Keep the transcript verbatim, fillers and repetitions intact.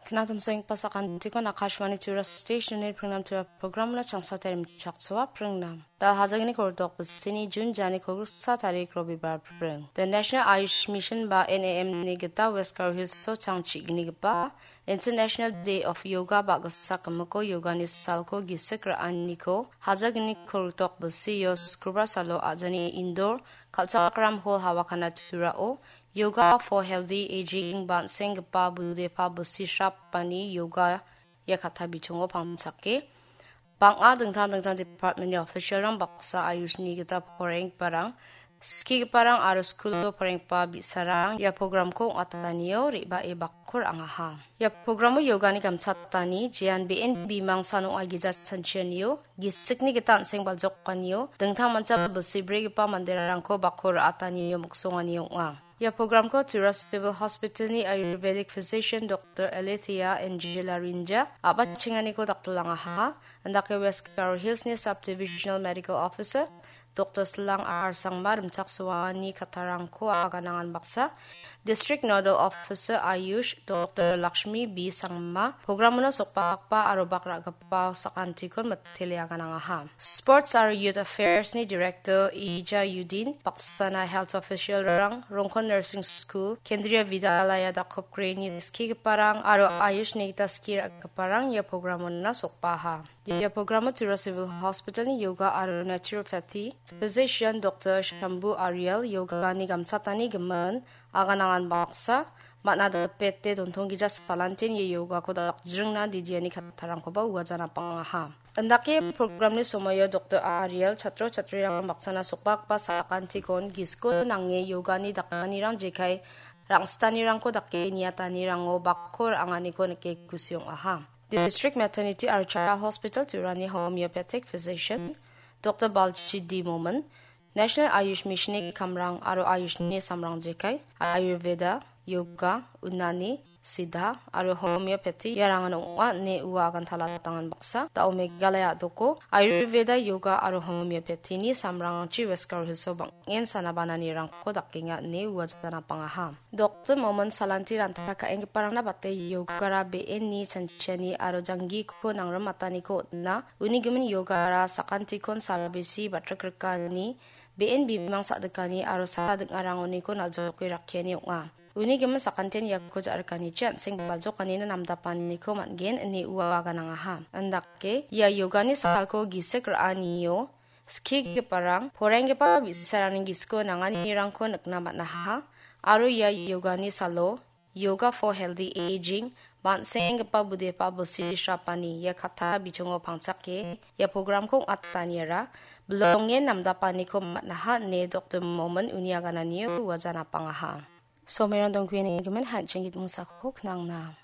Knatmseng pasakan tikon Akashvani Tura Station ni pringnam Tura program na changsa terim chaksoa pringnam. Da hajagini kordok besini Jun jani kogrusa tarik Robibar pring. The National Ayush Mission ba N A M ni gita West Garo Hills so changchigini gipa International Day of Yoga ba gisa kimiko yoga ni salko gisik ra·aniko hajagini kordok besio Skrubar salo ajani indoor kal·chakram hall hawa kana turao Yoga for Healthy Aging ba an·senggipa budepa bilsi srapani yoga ia katta bichongo pangchake. Bang·a dingtang dingtang department-ni official-rang baksa Ayush-ni gita poraienggiparang, skigiparang aro skulo poraienggipa bi·sarang ia program-ko ong·atanio re·bae bakko ra·angaha. Ia program-o yogani gamchatani jean be·en bimang san ong·a gija chanchianio, gisikni gita an·seng baljokanio, dingtang mancha bilsi brigipa manderangko bakko ra·atanio miksongani ong·a. Ia program-ko Tura Civil Hospital-ni Ayurvedic Physician Doctor Alethea Angela Rinja a·bachenganiko daktilangaha. Indake West Garo Hills-ni Subdivisional Medical Officer Doctor Slang R Sangma rimchaksoani kattarangko aganangan baksa, District Nodal Officer Ayush Doctor Lakshmi B Sangma, program-ono sokbakba aro bak ra·gipa sakantikon mitele aganangaha. Sports aro Youth Affairs-ni Director Ija Yudin, baksana health official-rang, Rongkon Nursing School, Kendriya Vidyalaya dakopgreni skigiparang aro Ayush-ni gita ski ra·giparang ia program-ona sokbaha. Ia program-o Tura Civil Hospital-ni yoga aro naturopathy physician Doctor Shambhu Ariel yogani gamchatani gimin aganangan baksa, man·a dipete dontonggija salantin ia yogako dakjringna didiani kattarangkoba uajana pangaha. Indake program-ni somoio Doctor Ariel chatro chatrirang baksana sokbakba sakantikon gisko nange yogani dakanirang jekai rang·sitanirangko dake niatanirango bakko ra·anganiko nike kusi ong·aha. District Maternity aro Child Hospital Turani Homeopathic Physician Doctor Balchi D Momin, National Ayush Mission-ni kamrang aro Ayush-ni samrang jekai, Ayurveda, Yoga, Unani, Siddha aro Homeopathy iarangan ong·a ine ua agantalatangan baksa. Da·o Meghalaya a·doko Ayurveda, Yoga aro Homeopathy-ni samrangchi West Garo Hills-o bang·en sana bananirangko dakenga ine ua jana pangaha. Doctor Momin salanti ranta ka·enggiparangna bate yogara be·enni chanchiani aro janggiko nangrimataniko on·a. Uni gimin yogara sakantikon salbisi batrikrikani, be·en bimang sa·dikani aro sa ding·arangoniko naljoke rakkiani ong·a. Uni gimin sakantian iako ja·rikanichi an·seng baljokanina namdapaniko man·gen ine ua aganangaha. Indake ia yogani salko gisik ra·anio skigiparang, poraienggipa bi·sarangni gisiko nanganirangko nikna man·aha. Aro ia yogani salo Yoga for Healthy Aging, ba an·senggipa budepa bilsi srapani ia katta bichongo pangchake ia program-ko ong·ataniara bilongen namdapaniko man·aha ine Doctor Momin uni agananio uajana pangaha. Somerang dongkuini gimin hanching gitmingsako knangna.